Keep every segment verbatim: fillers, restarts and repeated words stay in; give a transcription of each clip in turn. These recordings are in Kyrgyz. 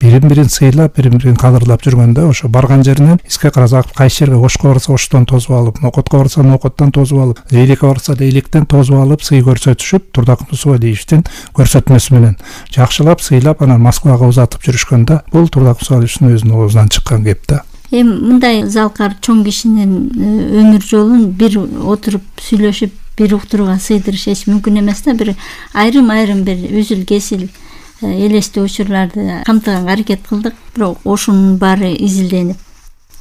бирин бирин сыйлап, бирин бирин кадырлап жүргөндө ошо барган жеринен эске карасак кайсы жерге ошко барса оштон тосуп алып, нокотко барса нокоттон тосуп алып, эликке барса да электен тосуп алып сый көрсөтүшүп, Турдакмыс Усубалиевичтин көрсөтмөсү менен жакшылап сыйлап анан Москвага узатып жүрүшкөндө бул Турдакмыс Усубалиевичтин өзүнүн оозунан чыккан кеп да. Эми мындай залкар чоң кишинин өмүр жолун бир отуруп сүйлөшүп, бир уктурууга сыйдырыш эч мүмкүн эмес да. Бир айрым-айрым бир үзүл кесил элестүү учурларды камтыганга аракет кылдык. Бирок ошонун баары изилденип,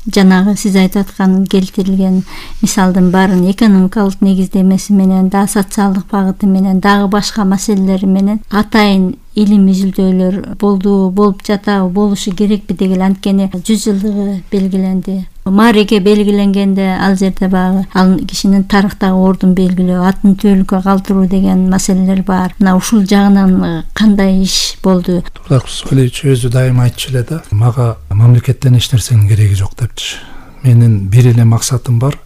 жанагы сиз айтып аткан келтирилген мисалдын баарын экономикалык негиздемеси менен, да социалдык багыты менен, дагы башка маселелери менен атайын илим изилдөөлөр болду, болуп жатабы, болушу керекпи деген. Анткени жүз жылдыгы белгиленди. Маареке белгиленгенде ал жерде багы ал кишинин тарыхтагы ордун белгилөө, атын түбөлүккө калтыруу деген маселелер бар. Мына ушул жагынан кандай иш болду? Турдакмыс Усубалиевич өзү дайыма айтчу эле да, мага мамлекеттен эч нерсенин кереги жок депчи. Менин бир эле максатым бар.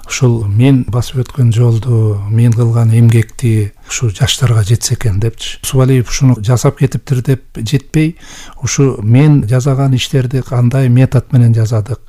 Ушул мен басып өткөн жолду, мен кылган эмгекти ушу жаштарга жетсе экен депчи. Усубалиев ушуну жасап кетиптир деп жетпей, ушу мен жасаган иштерди кандай метод менен жасадык,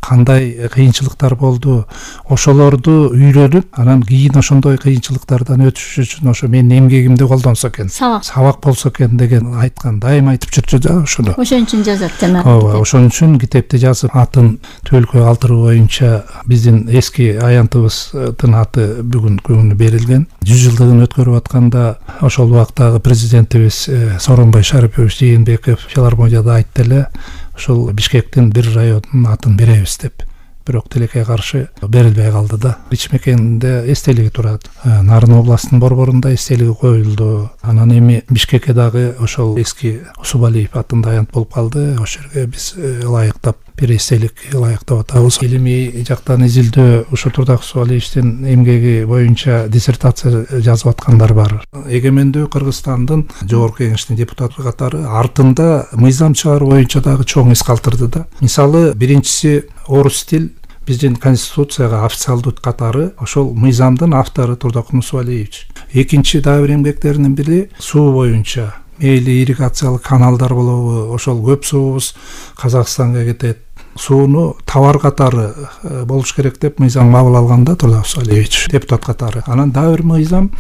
кандай кыйынчылыктар болду, ошолорду үйрөнүп, анан кийин ошондой кыйынчылыктардан өтүш үчүн ошо менин эмгегимди колдонсо экен, сабак сабак болсо экен деген айткан, дайыма айтып жүрчү да ошону. Ошон үчүн жазат жана. Ооба, ошон үчүн китепти жазып, атын түбөлүккө калтыруу боюнча биздин эски аянтыбыздын аты бүгүн күнү берилген. жүз жылдыгын өткөрүп атканда ошол убактагы президентибиз Сооронбай Шарипович Жээнбеков филармонияда айтты эле, ошол Бишкектин бир районунун атын беребиз деп. Бирок тилекке каршы берилбей калды да. Ичмекенде эстелиги турат. Нарын областынын борборунда эстелиги коюлду. Анан эми Бишкекке дагы ошол эски Усубалиев атында аянт болуп калды. Ошол жерге биз ылайыктап бир эстелик ылайыктап атабыз. Илимий жактан изилдөө ушу Турдакмыс Усубалиевичтин эмгеги боюнча диссертация жазып аткандар бар. Эгемендүү Кыргызстандын жогорку кеңештин депутаты катары артында мыйзам чыгаруу боюнча дагы чоң ис калтырды да. Мисалы, биринчиси орус тил биздин конституцияга официалдуу катары ошол мыйзамдын автору Турдакмыс Усубалиевич. Экинчи дагы бир эмгектеринин бири суу боюнча, мейли ирригациялык каналдар болобу, ошол көп суубуз Казакстанга кетет, сууну товар катары болуш керек деп мыйзам кабыл алганда Турдакмыс Усубалиевич депутат катары. Анан дагы бир мыйзам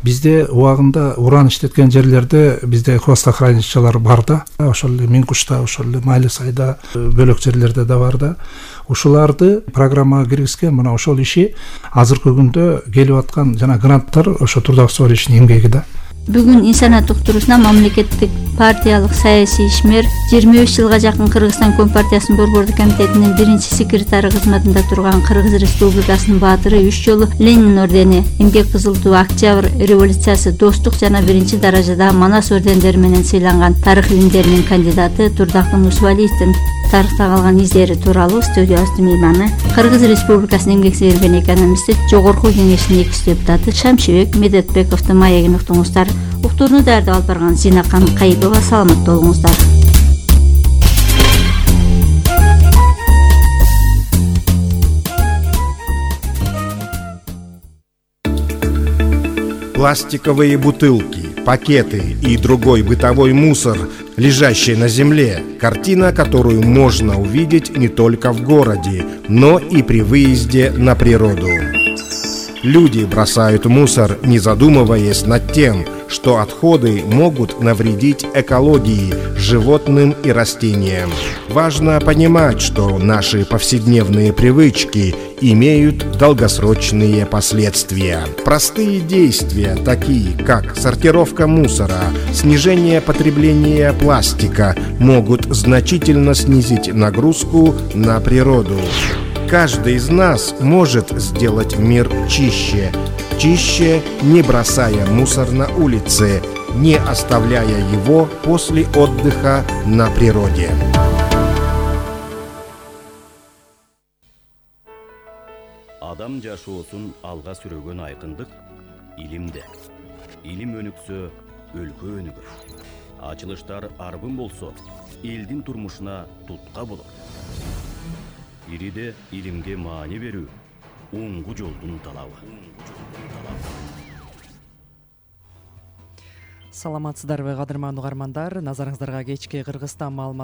бизде убагында уран иштеткен жерлерде бизде хвостохранилищалар бар да, ошол эле Миңкушта, ошол эле Майлы сайда, бөлөк жерлерде да бар да. Ушуларды программага киргизген. Мына ошол иши азыркы күндө келип аткан жана гранттар ошо Турдакмыс Усубалиевичтин эмгеги да. Бүгүн Инсаният уктуруусуна мамлекеттик партиялык саясий ишмер, жыйырма беш жылга жакын Кыргызстан Компартиясынын борбордук комитетинин биринчи секретары кызматында турган Кыргыз Республикасынын баатыры, үч жолу Ленин ордени, Эмгек Кызыл туу, Октябрь революциясы, Достук жана биринчи даражада Манас ордендери менен сыйланган тарых илимдеринин кандидаты Турдакмыс Усубалиевдин тарыхта калган издери тууралуу студиябыздын мейманы, Кыргыз Республикасынын эмгек сіңирген экономисти, жогорку кеңештин экинчи депутаты Шамшибек Медетбековдун маегин уктуңуздар. Уктурууну даярдап алып барган Зинакан Кайыпова. Саламат болуңуздар. Пластиковые бутылки, пакеты и другой бытовой мусор, лежащий на земле. Картина, которую можно увидеть не только в городе, но и при выезде на природу. Люди бросают мусор, не задумываясь над тем, что отходы могут навредить экологии, животным и растениям. Важно понимать, что наши повседневные привычки имеют долгосрочные последствия. Простые действия, такие как сортировка мусора, снижение потребления пластика, могут значительно снизить нагрузку на природу. Каждый из нас может сделать мир чище. Чище, не бросая мусор на улице, не оставляя его после отдыха на природе. Адам жашоосун алга сүрөгөн айкындык илимде. Илим өнүксө, өлкө өнүгөр. Ачылыштар арбын болсо, элдин турмушуна тутка болот. Ириде илимге маани берүү, оңгу жолдун талабы. саламатсыздарбы кадырмандуу угармандар, назарыңыздарга кечки Кыргызстан маалымат